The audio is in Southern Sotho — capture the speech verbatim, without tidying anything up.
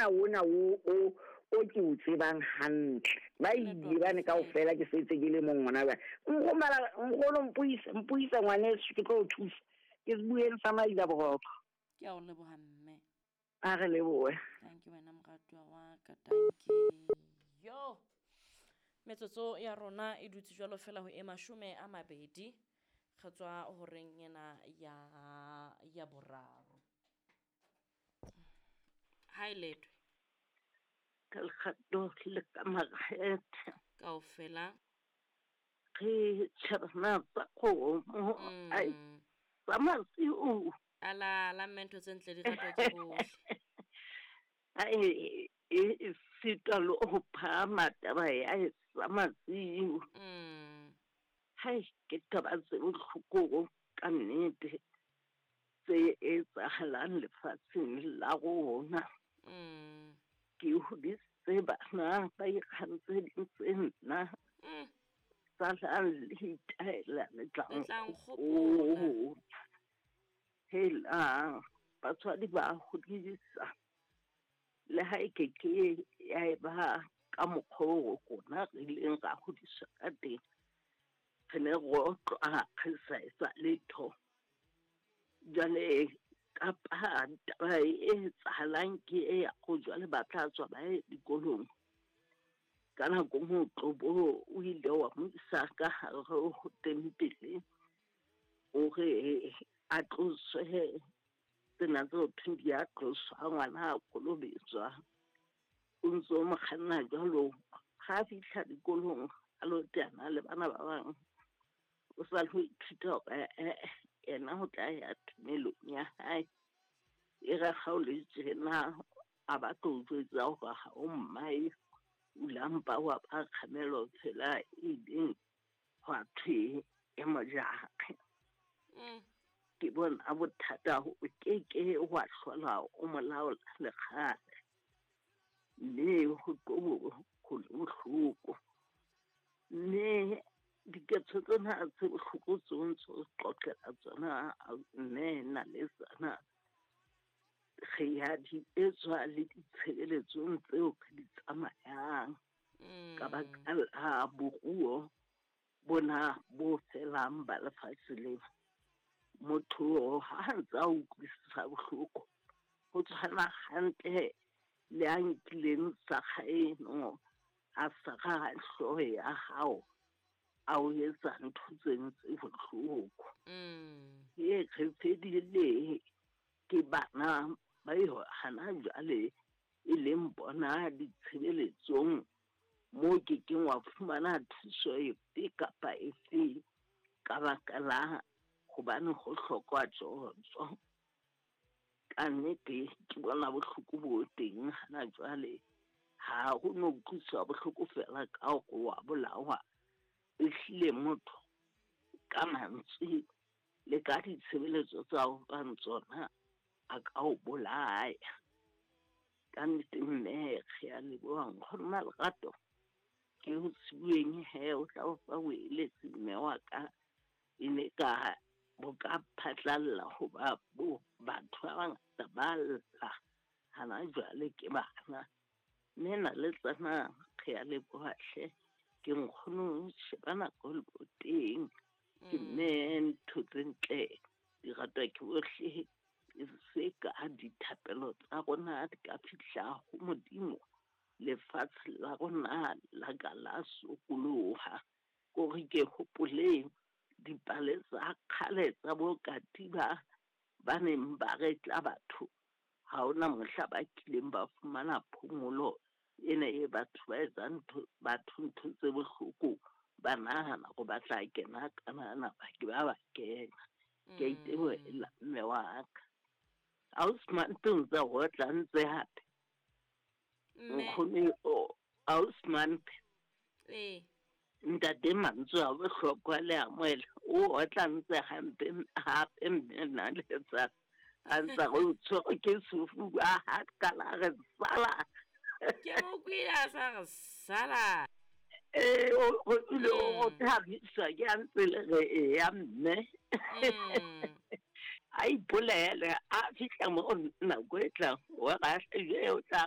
ona ona o o o ke o tsebang hantle. Ba ile bane kaofela ke setse ke le mong ngwana ba. Nromela nkgono mpuisa mpuisa ngwaneso ke tlo o thusa. Ke se bueng sa maila boroko. Ke a o leboha mme. A re lebohe. Thank you wena moratuwa wa ka, thank you. Yo. Metsotso ya rona e dutse jwalo fela ho e mashome a mabedi. Re tswa horeng ena ya ya boraro. Ha e letwe. Ka lekgato le ka makgethe. Kaofela. Re tjhabana tsa kgomo. Ai, Mm. tsa masiu. Ala la mme ntho tse ntle di ratwa ke bohle. Ai, e e sitwa le ho phahama taba ya e sa masiu. Mm. Hai, ke taba tse bohloko ka nnete tse etsahalang lefatsheng la rona. Mm. Ke hodisitse bana ba ikgantsheditse nna. Mm. Salang le itaela le tla Le tla nkgopola. nkgopola. Helang, batswadi ba hodisa. Le ha e ke ke ya eba ka mokgwa oo rona re ileng ra hodiswa ka teng. Re ne re otlwa re sa etsa letho. Jwale kapa taba e etsahalang ke e ya ho jwale ba tla tswa ba ye dikolong. Ka nako e nngwe o tlo bo o ile wa mo isa ka hare ho tempele hore a tloswe tsena tse ho thweng di a tloswa ngwana a kolobetswa. O ntso mo kganna jwalo. Ha a fihla dikolong a lo teana le bana ba bang. O sa lo ithuta hore eh yena o tla ya tumelong ya hae. E re ha o le tjena a ba tlo o jwetsa hore ha o mmae. O la mpa wa ba kgamelo tsela e ileng hwa thwe e mojake. Mm. Ke bona bothata o ke ke wa hlola o mo laola le kgale. Mme ho tlo ho le bohloko. Mme diketso tsena tse bohloko tseo ntso o qoqela tsona mme na le tsana re ya di etswa le ditshebeletsong tseo re di tsamayang. Ka baka la boruo bona bo felang ba lefatshe lena. Motho ha a ntse a utlwisisa bohloko ho tshwana hantle le a nkileng sakga eno a sakga hlooho ya hao a o etsa ntho tseno tse bohloko. Mm. E re fedile ke bana ba eo hana jwale e leng bona ditshebeletsong moo ke keng wa fumana thuso efe kapa efe ka baka la hobane ho hlokwa tjotjo. Ka nnete ke bona bohloko bo teng hana jwale. Ha ho no utlwiswa bohloko feela ka hore wa bolawa. Ehlile motho ka mantswe le ka ditshebeletso tsa ho fang tsona a ka o bolaya. Ka nnete mme re a leboha nkgono Malerato. Ke ho sibueng he o tla o fa o eletse mme wa ka e ne ka bo ka phatlalla hoba bo batho ba bangata ba lla hana jwale ke bana. Mme na le tsena re a leboha hle. Ke nkgono sheba nako le bo teng. Ke mme ntho tse ntle di ratwa ke bohle. E se ka dithapelo tsa rona di ka fihla ho Modimo. Lefatshe la rona la ka la sokoloha. Kore ke hopole dipale tsa kgale tsa bo katiba ba neng ba retla batho. Ha hona mohla ba kileng ba fumana phomolo ena e batho ba etsang ntho batho ntho tse bohloko ba nahana hore ba tla kena kanana ba ke ba ba kena. Ke a itebohela mme wa ka. Ausi Mampe o ntse a otla ntse hape. Mme. Nkgono o Ausi Mampe. Ee. Ntate mantswe a bohlokwa le amohela o otla ntse hampe hape mme nna le tsa a ntse re o tshwerwe ke sefuba ha qala re sala. Ke mo kwile a sa re sala. Eh, o o ile o Mm. thabisa ke a ntse le re eya mme. Mm. A ipolele a fihla mo nako e tlang wa ra hle o tla